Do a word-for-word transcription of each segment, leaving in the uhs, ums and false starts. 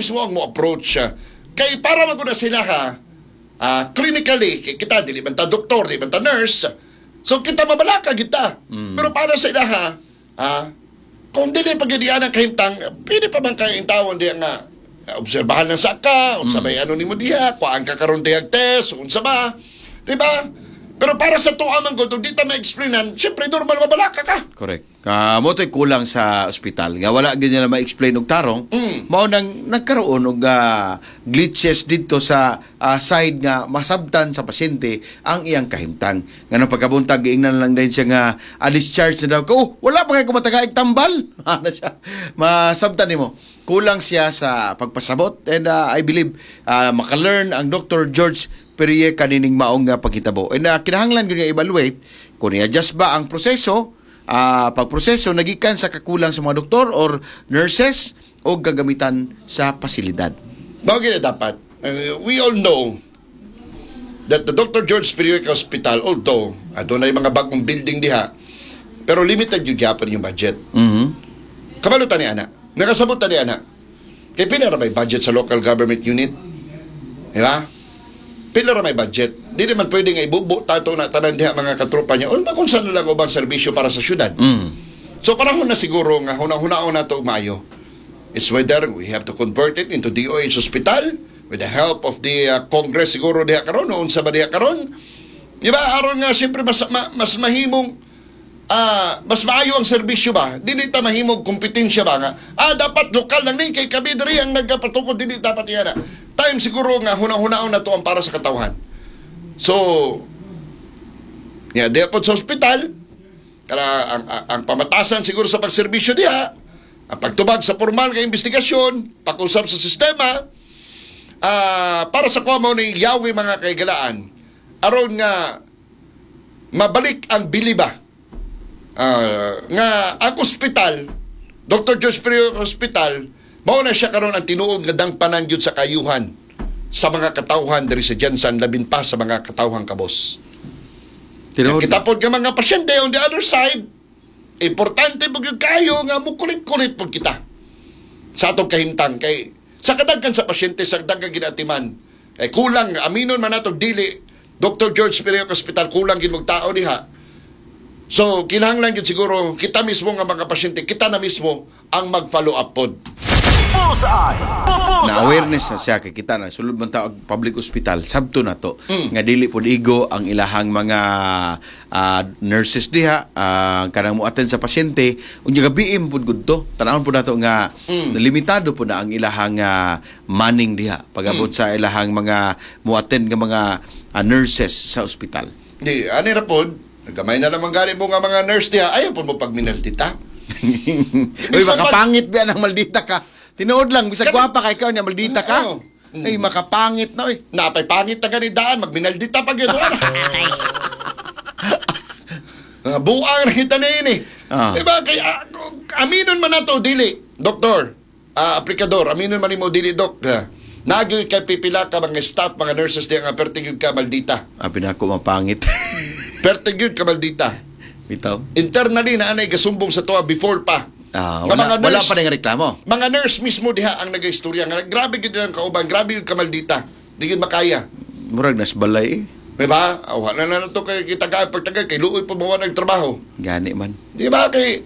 mismo ang mo approach siya. Kay para maguna sila ha, ah, clinically, kay kita dili man ta doktor, dili man ta nurse. So kita mabalaka kita. Pero para sa ila ha, ah, kung dili pa gyud ang kahimtang, pwede pa man kay tawon diya nga obserbahan lang sa ka, unsa may ano nimo diha, kuhaan ka karon diha test, unsa ba? Di ba? Pero para sa tuwa man gud, di ta ma-explainan, syempre normal mabalaka ka. Correct. Ka mo to'y kulang sa ospital. Nga wala gyud nila ma-explain og tarong. Mm. Mao nang nagkaroon og ah, glitches didto sa ah, side nga masabtan sa pasyente ang iyang kahimtang. Ngano pagkabuntag giingnan lang din siya nga ah, discharge na daw ko. Oh, wala pa kay kumatagaig tambal. Ana siya. Masabtan nimo. Kulang siya sa pagpasabot and ah, I believe ah, maka-learn ang Doctor George Perie kanining maong nga pagkitabo. And uh, kinahanglan gyud nga evaluate kung i-adjust ba ang proseso, ah pagproseso nagikan sa kakulang sa mga doktor or nurses o gagamitan sa pasilidad. Mao gyud na dapat. Uh, we all know that the Doctor George Piriac Hospital, although adunay mga bagong building diha, pero limited yung gyapon yung budget. Mhm. Kabalo ta ni ana. Nakasabot ta ni ana. Kay pila ra may budget sa local government unit? Di ba? Pila ra may budget. Di naman pwede nga ibubo tato na tanan diha mga katropa niya. O kung saan lang ubang serbisyo para sa syudad. Mm. So panahon na siguro nga hunahunahon na to maayo. It's whether we have to convert it into D O H hospital with the help of the uh, Congress siguro diha karon o unsa ba diha karon. Di ba aron nga siyempre mas ma, mas mahimong ah mas maayo ang serbisyo ba? Dili ta mahimong kompetensya ba nga ah dapat lokal lang ni kay kami diri ang nagpatukod, dili dapat yan. Time siguro nga hunahunahon na to ang para sa katawhan. So, ya diha pod sa ospital, kaya ang, ang, ang pamatasan siguro sa pagserbisyo diha, ang pagtubag sa formal nga investigasyon, pag-usap sa sistema, ah para sa kuha mo ni yawi mga kaigalaan, aron nga mabalik ang biliba Ah, nga ang ospital, Doctor George Perio Hospital, mao na siya karon ang tinuod nga dangpanan gyud sa kayuhan sa mga katawhan diri sa GenSan, labin pa sa mga katawhan kabos. Tinuod. Kita pod nga mga pasyente on the other side, importante po gyud kayo nga mukulit-kulit pod kita sa atong kahimtang kay sa kadaghan sa pasyente sa daghan ginatiman eh kulang, aminon man nato dili, Doctor George Perio Hospital kulang gid og tao diha. So kinahanglan gyud siguro kita mismo nga mga pasyente, kita na mismo ang mag-follow up pod. Bullseye! Na Bullseye! awareness na siya kay kita na sulod man ta og public hospital, sabto na to Mm. nga dili pod igo ang ilahang mga ah, nurses diha uh, kanang mo-attend sa pasyente. Unya gabiim pod gud to, tan-awon pod nato nga Mm. limitado pod na ang ilahang ah, manning diha pag-abot Mm. sa ilahang mga mo-attend nga mga ah, nurses sa ospital. Di ani ra pod, gamay na lamang gani mo nga mga nurse diha, ayaw pod mo pagminaldita. Uy, Bisan pag- makapangit ba ang maldita ka? Tinuod lang, bisag Kani- gwapa kay ikaw niya, maldita ka. Oo. Mm. Ay, makapangit na oy. Napay pangit na gani daan, magminaldita pa gyud. Wala. Mga buang na kita na yun eh. Ah. Diba? Kay, ah, aminon man nato, dili. Doktor, ah, aplikador, aminon man nimo dili, dok. Ah, Nagyoy kay pipila ka mga staff, mga nurses diya nga perti gyud ka maldita. Abi na ako mapangit. Perti gyud ka maldita. Bitaw. Internally na anay gasumbong sa toa before pa. Ah, Nga wala, mga wala nurse- pa ning reklamo. Mga nurse mismo diha ang nagaistorya nga grabe gyud ang kauban, grabe gyud ka maldita. Di gyud makaya. Murag nas balay eh. Di ba? Ah, wala na na to kay kita ka pagtagal kay luoy pa mo nagtrabaho. Gani man. Di ba kay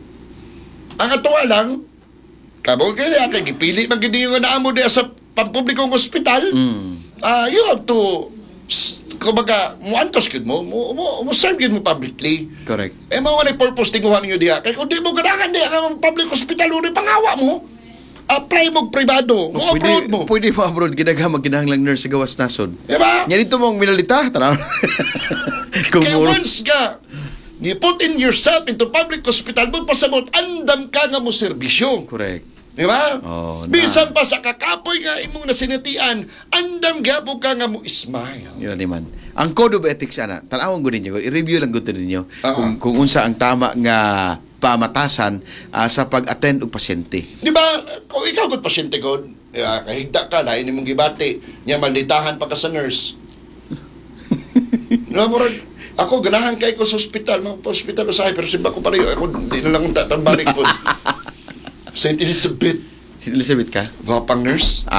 ang atuwa lang kamo kay kay gipili man gid yung naamo diha sa pampublikong ospital. Mm. Ah, you have to s- kumbaga muantos gyud mo, mo, mo, mo serve gyud mo publicly. Correct. Eh mao man purpose tinguhan ninyo diha. Kay kung di mo ganahan diha ka public hospital, uri pangawa mo. Apply mo pribado, mo Pwede, abroad mo. pwede mo abroad, ginaga magkinahanglang nurse sa gawas nasod. Di ba? Nya dito mong minalita, tanaw. Kung Kaya muro- once ka, you put in yourself into public hospital, mo pasabot, andam ka nga mo serbisyo. Correct. Di ba? Oh, na. Bisan pa sa kakapoy nga imong nasinatian, andam gyapon ka nga mo smile. Yun na man. Ang code of ethics ana, tan-awon gud ninyo, i-review lang gud ninyo Oo. kung kung unsa ang tama nga pamatasan ah, sa pag-attend og pasyente. Di ba? Kung ikaw gud pasyente gud, ya, kahigda ka, lain nimong gibati, nya malditahan pa ka sa nurse. Di ba, murag, ako ganahan kay ko sa ospital, mga pa ospital usahay, pero simba ko palayo, ako di na lang tatambalik ko. Saint Elizabeth, Si Elizabeth ka? gwapang nurse. Ah,